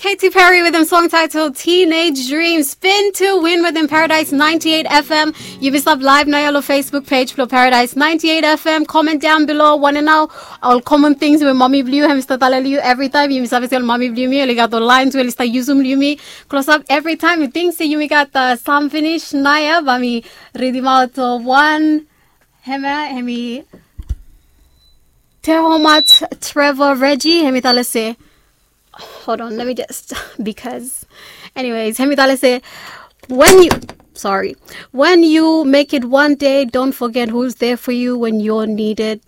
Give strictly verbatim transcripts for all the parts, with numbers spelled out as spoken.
Katy Perry wetem song title Teenage Dream. Spin to win wetem Paradise ninety-eight F M. Yumi stap live naoia long Facebook page blong Paradise ninety-eight F M. Comment down below. Wanem nao ol common things we mami blong yu hemi stap talem long yu evri taem? Yumi save se ol mami blong yumi oli gat ol lines we oli stap yusum long yumi klosap evri taem. Mi ting se yumi gat sam finis naoia, bae mi ridimaot wan. Hemia hemi Tehomat Trevor Reggie, hemi talem se, hold on, let me just, because, anyways, hemi talem se, when you, sorry, when you make it one day, don't forget who's there for you when you're needed,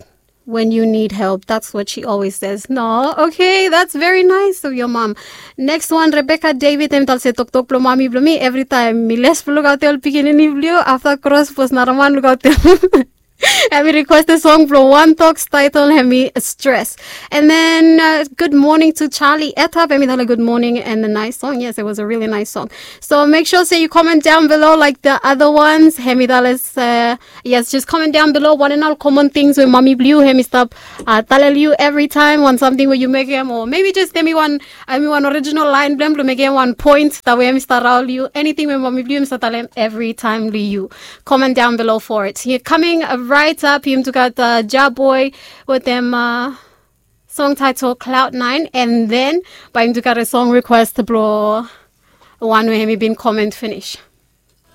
when you need help. That's what she always says. No, okay, that's very nice of your mom. Next one, Rebecca David, hemi talem se, toktok blong mami blong mi, evri taem mi les blong lukaotem ol pikinini blong yu, afta kros bos naraman lukaotem. Hemi requestem song blong One Talks title hemi Stress. And then uh, good morning to Charlie Etap. Hemi talem good morning and a nice song. Yes, it was a really nice song. So make sure say you comment down below like the other ones. Hemi talem se, uh, yes, just comment down below wanem nao ol common things we mami blong yu hemi stap uh, talem long yu evri taem, wan samting we yu mekem, o maybe just hemi wan, hemi wan original line blong hem blong mekem wan point that we hemi stap raol long yu. Anything we mami blong yu hemi stap talem evri taem long yu. Comment down below for it. Here, coming uh, right up, yumi tu gat uh, Jah Boy wetem uh, song title Cloud Nine, and then bae yumi tu gat a song request blong wan we hemi bin comment finis.